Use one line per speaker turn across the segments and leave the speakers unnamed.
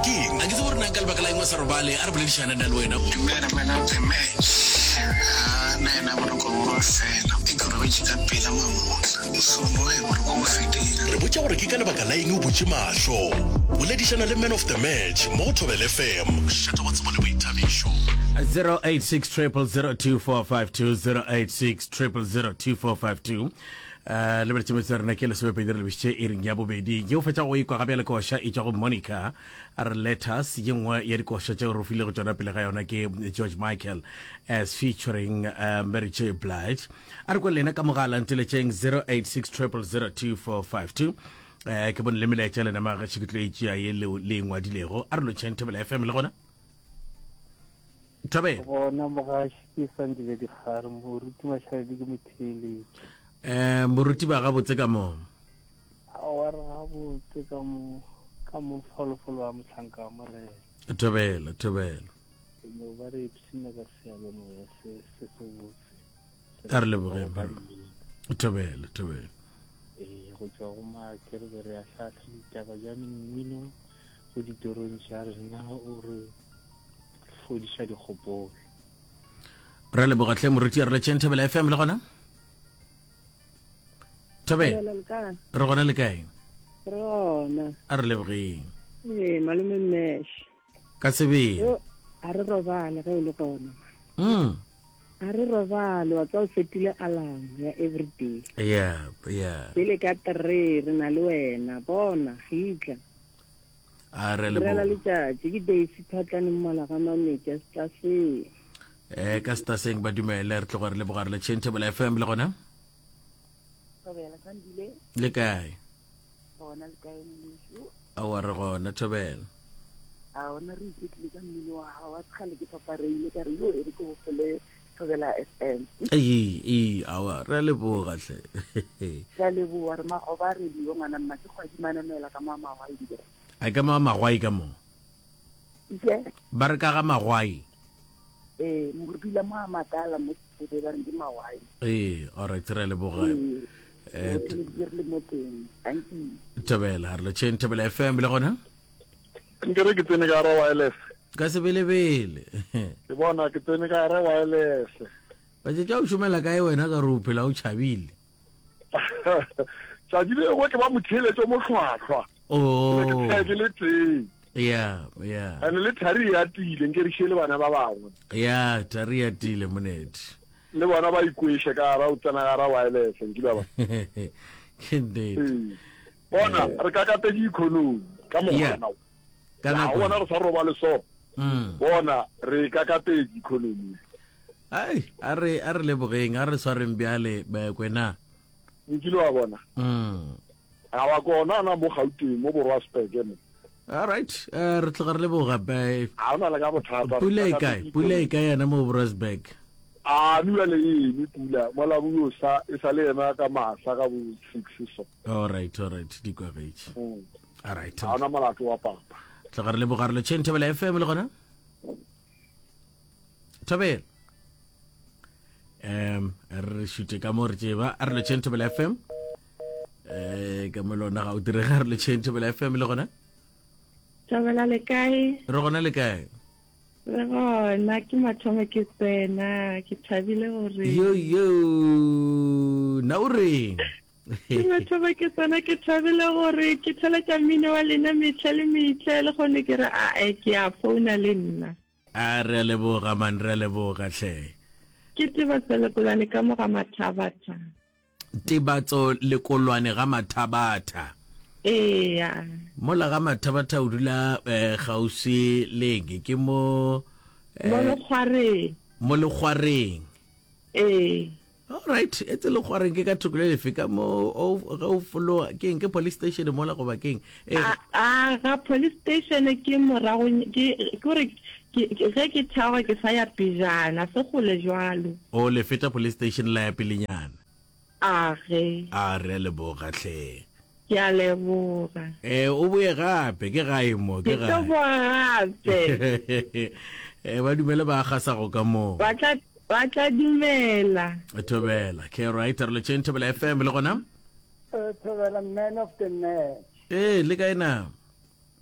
ke eng? A ke tsebe gore na ka lebaka la eng o sa robale, a re boledišane nna le wena.
Dumela man of the match. Haa nna yena boroko bo ba fela. E ke robetše ka pela mamotla. So moe boroko bo fedile.
Re botša gore ke ka lebaka la eng o butše mahlo. Boledišana le man of the match mo go Thobela FM, mošate wa tsebo le boithabišo.
086 0002452 086 0002452 Uh, lebeletše metse ya rena ke lesomepedi re lebišitše iring ya bobedi ye o fetša go ikwa ga bjale koša e tšwa go monica a re letters ye nngwe ya dikoša tšeo re filego tšona pele ga yona ke george michael as featuring uh, mary j blige a re kwe lena ka mogala nteletšeng 086 0002452 eh ke bone le melaetša lena magaši ke tlo e tšea ye le le e ngwadilego a re lotšheng thobela fm le gona thobela
gona mogaši ke sandile dikgare moruti mašaledi ke motheeletši
eh moruti ba gabotse ka moo
aowa re gabotse ka mo ka mo folofolo wa mohlanka wa morena
thobela thobela
no ba re ipshina ka seyalemoya se se sebotse
a re lebogeng thobela thobela
ee go tšwa go maake re be re ahlahla ditaba bja mmino go ditorong tša rena o re fodiša dikgopolo
re leboga tlhe moruti a re letšeng thobela fm le gona thobela re gona le kae
re gona
a re lebogeng
ee malome mesh
ka sebele
a re robale ge o le gona mm. a re robale wa tsa o setile alarm ya everyday
yeah yeah
pele ka three re na le wena bona gitla
a re leboga
letšatši ke daisy phatlane mmala ga mametša setaseng
eh ka setaseng ba dumele re tloga re leboga re le tšhentebele fm le gona le kae
gona le kae mmuso
aowa re gona thobela
a ona re iketlile ka mmino wa gago wa kgale ke papareile ka re yo e re ke gopole thobela f m
ee ee aowa re a leboga hle
ke a leboga re magoba a radio ngwana mma ke kgwadi manamela ka mo magwai dira
a ka mo magwai ka mo
ike
ba re ka ga magwai
ee mo re dula mo a makala mo sebe ba re ke magwai
ee all right re a leboga
ee re le mo teng thank you
thobela re le tšheng thobela fm le gona
nkere ke tsene ka gara wireless
ka sebelebele
ke bona ke tsene ka gara wireless
batšetša o šomela kae wena ka re o phela o tšhabile
tšatši le lengwe ke ba motheeletšo mohlwahlwa
oh.
ke ke le teng
ya ya
and le thari ya tile nke re šele bana ba bangwe
ya thari ya tile monete
le bona ba ikweše ka gara o tsena gara wireless nkile ba
ke nnete
ee. bona re kakatedi economy ka mokgwana
ka nako
bona re sa robale so
mm.
bona re kakatedi economy
Ai, a re a re lebogeng, a re swareng bjale kwena.
Nkile wa bona.
Mm.
A wa kona na mo Gauteng mo borwa Speke mo.
All right, uh, re tloga re leboga
ba. A ona le ka bothata.
Pula e kae? Pula e kae yana mo Borasburg?
A no bjale e eme pula mola bo yo sa e sa le ema ka masa ka bo 6 so.
All right, all right, di kwagetše.
Mm.
All right.
A ona molato wa papa.
Tloga re leboga re le Thobela FM le gona. Thobela. Um re šute ka mo re tseba a re letšheng Thobela FM. Eh ka mo lona ga o direga re letšheng Thobela FM le gona.
Thobela le kae?
Re gona le kae?
Re gona ke mathomo ke tsena ke thabile gore
Yo yo na o reng?
Ke mathomo ke tsena ke thabile gore ke theletša mmino wa lena metlha le metlha le kgone ke re ae ke a founa le nna.
A re a leboga man, re a leboga hle.
Ke Tebatso Lekolwane ka mo ga Mathabatha.
Tebatso Lekolwane ga Mathabatha.
Eya.
Mola ga Mathabatha o dula eh, kgauswi le eng? Ke mo
eh, Mo Lekgwareng.
Mo Lekgwareng.
Ee.
Alright, etse Lekgwareng ke ka thoko le lefe ka mo ge o fologa ke eng ke police station mola goba ke eng?
Eh, a a ga police station ke morago ke gore ge ke theoga ke sa ya pejana se kgole jwalo.
O le feta police station la ya pelenyana.
A ge.
A re a leboga hle.
Ke a leboga.
Eh o boye gape ke gae mo ke
gae. Ke tlo boa gape.
Eh ba dumele ba gasago ka mo.
Ba tla ba tla dumela.
Thobela. Ke right re le tšeng Thobela FM le gona?
Eh, Thobela man of the match.
Eh le kae na?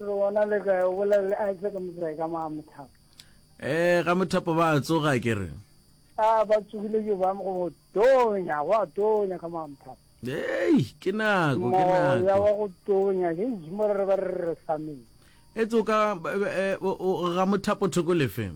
Re gona le kae? O bolela le Isaac Motsae ka mo Mothapo.
Eh, ga Mothapo ba tsoga ke re.
A ba tsogile ke ba go tonya, go a tonya ka mo Mothapo.
Ei, ke nako, ke nako.
Moya wa go tonya, ke mo re ba re re sameng.
E tsoka eh, ga Mothapo thoko lefe?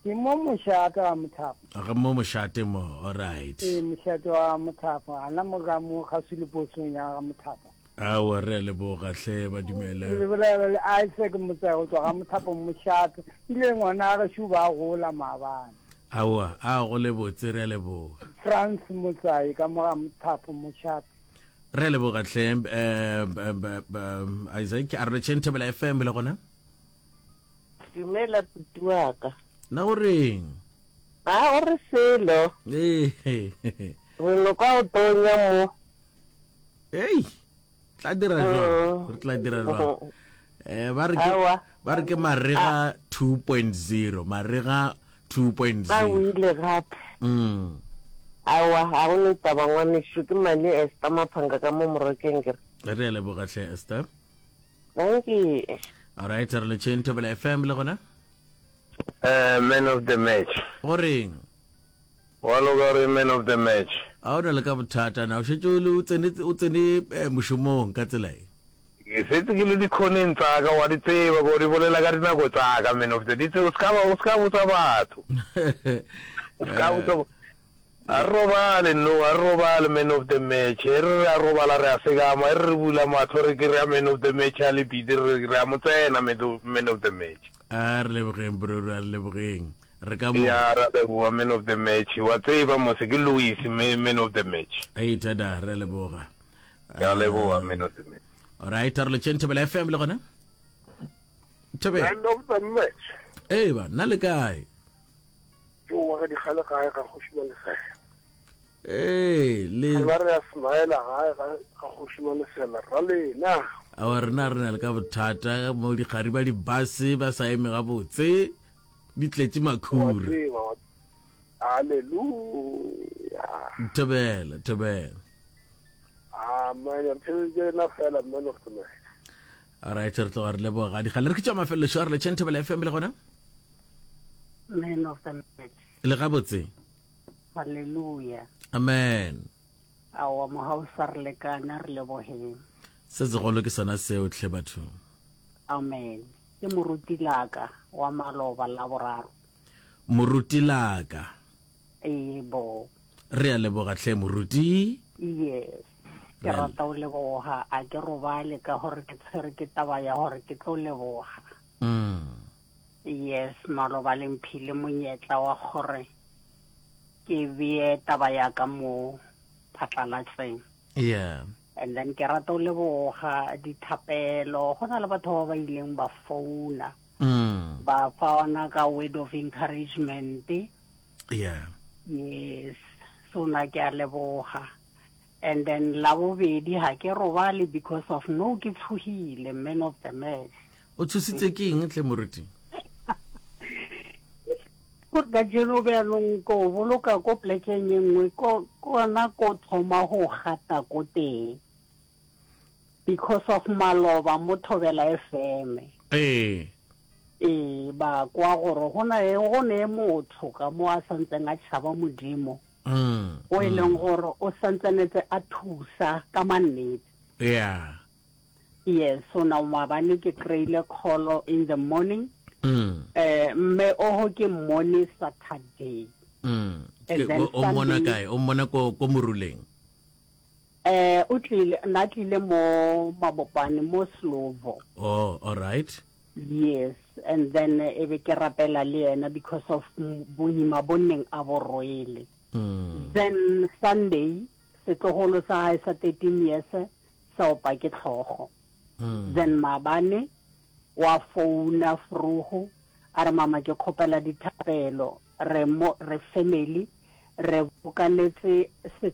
Ke mo mošate wa Mothapo.
Ga mo mošate mo, all right.
Ee, mošate wa Mothapo, ana mo ga mo kgauswi le posong ya ga Mothapo.
Aowa, re a leboga hle, ba dumele.
Re bolela le Isaac Motsae go tšwa ga Mothapo mošate. Ile ngwana gešo ba gola maabane.
Aowa, a go le botse, re a leboga.
Frans Motsae ka mo ga Mothapo mošate.
Re a leboga hle, Isaac. A re letšheng Thobela FM le gona.
Dumela puti wa ka.
Na o reng?
A o re selo.
Ee.
Re no kwa o tonya mo.
Ei, tla dira jwang? Re tla dira jwang? Eh, ba re ke ba re ke marega 2.0, marega 2.0.
Ba wile gape.
Mm.
Awa, ga go ne taba ngwanešu, ke Mali Esther Maphanka ka mo Morokeng ke re.
Re a leboga hle Esther.
Dankie.
All right, re le tšheng Thobela FM le gona.
Uh, man of the match.
Go reng?
Wa loka re man of the match.
A o na le ka bothata na o šetše o le o tsene o tsene eh, mošomong ka tsela e?
Ke setse ke le dikhoneng tsa ka wa di tseba ko di bolela ka dinako tsa ka man of the di tseba o ska ba o ska botsa batho. O ska botsa A re robale no, a re robale man of the match. E re re a robala re a sekama, e re re bula mahlo re kry-a man of the match a le busy re re a mo tsena man of the match.
A re lebogeng bro, a re lebogeng. Re ka mo.
Ya ra leboga man of the match. Wa tseba mose ke Louis man of the match.
Ei tada, re a leboga.
Ke a leboga man of the match.
Alright, a re letšeng Thobela FM le gona. Thobela.
Man of the match.
Ee ba, nna le kae?
Ke wa ga dikgale gae ga kgoši Malesela.
Ee, le.
Ba re a smaela gae ga ga kgoši Malesela ra lena.
Awa rena re na le ka bothata mo dikgari ba dibase ba sa eme gabotse di tletše makhura.
Hallelujah.
Thobela, thobela.
Amen. Re theleditše lena fela man of the match.
Alright, re tloga re leboga. Dikgale re ke tša mafelelo šo a re letšheng Thobela FM le gona.
Man of the match.
Le gabotse.
Hallelujah.
Amen.
Aowa mogau sa re lekana re lebogeng.
Se segolo ke sona seo tlhe batho.
Amen. Ke moruti laka wa maloba la boraro.
Moruti laka.
Ee bo.
Re a leboga tlhe moruti.
Yes. Ke rata o leboga a ke robale ka gore ke tshwere ke taba ya gore ke tlo leboga.
Mm.
Yes, maloba le mphile monyetla wa gore ke bee taba ya ka mo phatlalatseng.
Yeah.
And then ke rata o leboga dithapelo go na le batho ba ba ileng ba founa.
Mm.
Ba fa ona ka word of encouragement.
Yeah.
Yes. So na ke a leboga. And then la bobedi ha ke robale because of no ke tshohile man of the match.
O tshositse ke eng tle moruti?
Gore kajeno bjanong ko boloka ko plekeng e nngwe ko kona ko thoma go gata ko teng because of maloba mo Thobela FM.
Ee.
Ee, ba kwa gore go na go ne motho ka mo a santseng a tšhaba Modimo.
Mm.
O e leng gore o santsanetse a thusa ka mannete.
Yeah.
Yes, so now maabane ke kry-ile call in the morning.
Mm.
Eh, mme oho ke mmone Saturday.
Mm.
And then
O mmona
Sunday-
kae? O mmona ko ko moruleng.
Eh, o tlile, na tlile mo Mabopane, mo Slovo.
Oh, all right.
Yes, and then eh, e be ke rapela le yena because of m- boima bo neng a bo rwele.
Mm.
Then Sunday, setlogolo sa hae sa 13 years sa opa ke tlhogo. Then maabane wa founa Fruhu a re mama ke kgopela dithapelo re mo re family re bokanetse.